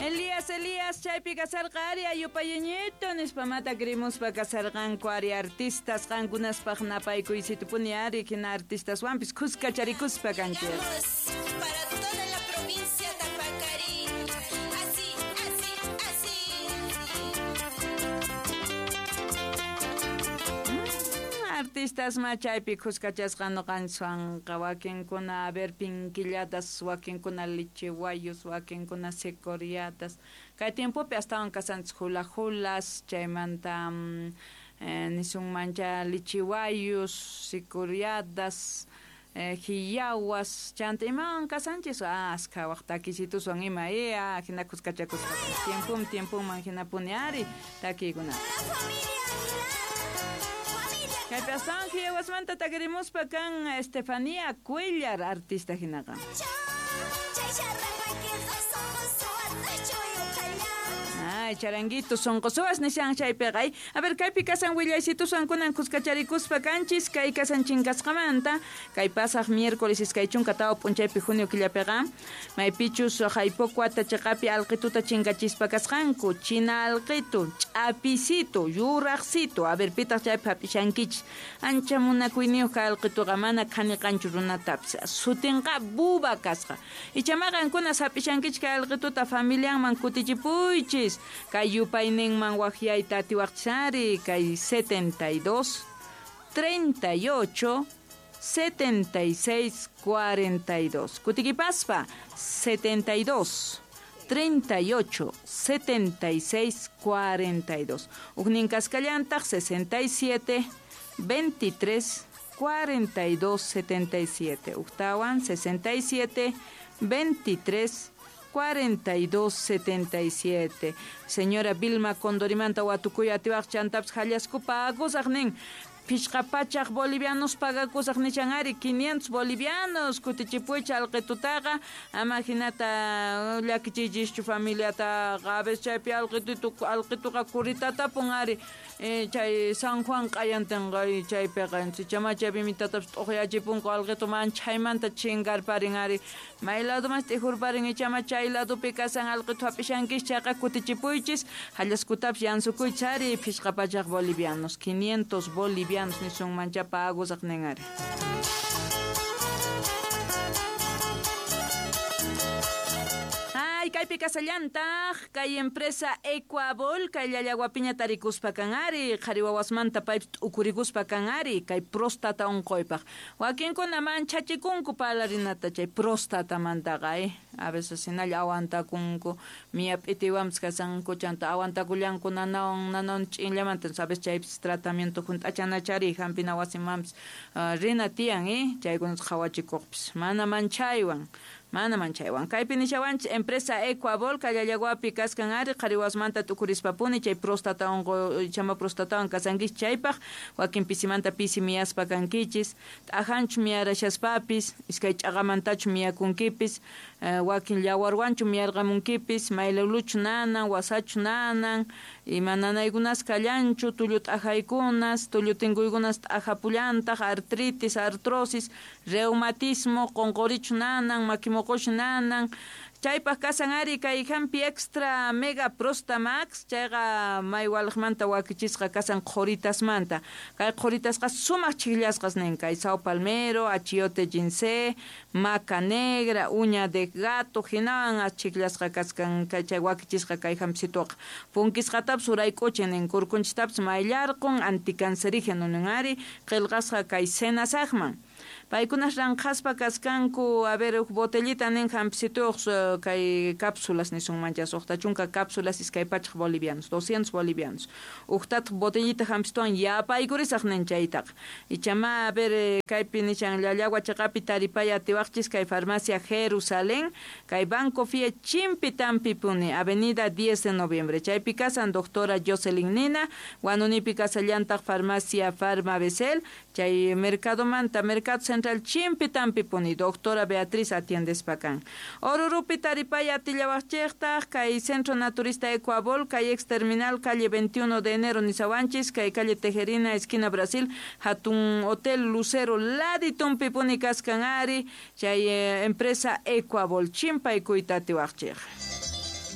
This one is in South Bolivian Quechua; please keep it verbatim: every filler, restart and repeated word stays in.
Elías, Elías, chaypi kasarqa ari ayupayeñito nispamata krimuspa kasarqanku ari artistas qankunaspaq napaykuycitupuni ari hina artistaswanpis khuskacharikuspa kanchik. Para toda la provincia de Tapacarí. Así, así, así. Artistas ma chaypi khuskachasqa nuqanchwanqa wakinkuna a ver pinquillatas, wakinkuna lichiwayos, wakinkuna secoriatas. Kay tiempopi astawan kasanchis hula-hulas, chaymanta mm, eh, nisunmancha lichiwayos, sicoriadas, eh, hiyawas, chanta imawan kasanchis, ah, askha waq takisituswan ima, eh, ah, hina khuskachakuspa. Tiempum, tiempuman hinapuni ari takiykuna. Kaypi astawan hiyawasmanta takirimuspa kan Estefanía Cuellar artista hinaqa. Ay, charanguito, sonqosuwas nishan chaypiqa. Ay, a ver, kaypi kasan willaysituswan kunan khuskacharikuspa kanchis, kay kasan chinkasqamanta, kay pasaq miércoles iskay chunka tawa p'unchaypi junio killapiqa, maypichus haypokuata chiqapi alqituta chinkachispa kasqanku, china alqitu, ch'apisito, yuraqsito, a ver, pitaq chaypi hap'ishankichis, ancha munakuyniyuq kay alqituqa mana khaniqanchu runatapis, sutinqa buba kasqa. Ichama qankunas hap'ishankichis kay alqituta familianman kutichipuychis, kay yupayninman waqyayta atiwaqchisari, kay setenta y dos, treinta y ocho, setenta y seis, cuarenta y dos. Kutikipaspa, setenta y dos, treinta y ocho, setenta y seis, cuarenta y dos. Ujnin kaskallantaq, sesenta y siete, veintitrés, cuarenta y dos, setenta y siete. Ujtawan, sesenta y siete, veintitrés, cuarenta y dos, setenta y siete. Señora Vilma Condorimanta watukuy atiwaq chantapis hallaskupa akusaq nin. Phishqa pachaq bolivianos pagakusaq nichan ari quinientos bolivianos kutichipuycha alqitutaqa ama hinata llakichiychischu familiataqa a veces chaypi alqitutu alqituqa kuritatapun ari eh, chay San Juan q'ayantinqa chaypiqa chama chaypi mitatapis t'uqyachipunku alqitu manchaymanta chinkarparin ari may ladumas t'ijurparin ichama chay ladupi kasan alqitu hap'ishankis chayqa kutichipuychis hallaskutapis yansukuychis ari phishqa pachaq bolivianos quinientos bolivianos nisunmancha pagusaq nin ari. Ay, kaypi kasallantaq kay empresa Ecuabol kay llallawapiña tarikuspa kan ari qhari wawasmanta paypis t'ukurikuspa kan ari kay próstata unquypaq wakinkuna manchachikunku parlarinata chay próstatamantaqa eh a veces hinalla aguantakunku miya p'itiwanpis kasanku chanta aguantakullanku nanawan nanawan ch'inllamanta sabes chaypis tratamiento hunt'achanachari hampina wasimanpis uh, rina tiyan eh chaykunata qhawachikuqpis mana manchaywan mana manchaywan kaypi nishawanchis empresa Ecuabol kay llallawapi kaskan ari qhari wawasmanta t'ukurispapuni chay próstata unquy chama prostatawan kasankichis chaypaq wakin pisimanta pisi miyaspa kankichis t'ajanchu miyarashaspapis iskay ch'aqamantachu miyakunkipis eh, wakin llawarwanchu miyarqamunkipis mayluluchu nanan wasachu nanan ima nanaykunas kallanchu tullu t'ajaykunas tullu tinkuykunas t'ajapullantaq artritis artrosis reumatismo qonqorichu nanan makimoqochu nanan chaypaq kasan ari kay hampi extra mega prostamax chayqa maywalqmanta wakichisqa kasan qhuritasmanta kay qhuritasqa sumaq chillasqas nin kay sao palmero achiote ginseng maca negra uña de gato hinawan achiklasqa kaskan kay chay wakichisqa kay hampisituqa punkisqatapis urayk'uchin nin kurkunchistapis mayllarqun anticancerígeno nin ari qillqasqa kay senasaqman Paykunas ranqhaspa kaskanku, a ver, botellita nin hampisituq kay cápsulas nisunmancha suqta chunka cápsulas iskay pachaq bolivianos, doscientos bolivianos. Uqtataq botellita hampisituwan yapaykurisaq nin chaytaqa. Ichama, a ver, kaypi nishan llallawa chaqapi taripaya atiwaqchis kay farmacia Jerusalén, kay Banco Fie Chimpi Tampipuni, Avenida diez de Noviembre. Chaypi kasan doctora Jocelyn Nina, Huanunipi kasallantaq farmacia Farma Becel, chay Mercado Manta, Mercado Central Chimpi Tampipuni, doctora Beatriz atiendes pakan. Orurupi taripaya atillawaqchiqtaq, kay Centro Naturista Ecuabol, kay ex terminal calle veintiuno de enero Nisawanchis, kay calle Tejerina, esquina Brasil, hatun Hotel Lucero Laditumpipuni kaskan ari, chay eh, empresa Ecuabol, chimpaykuyta atiwaqchiq.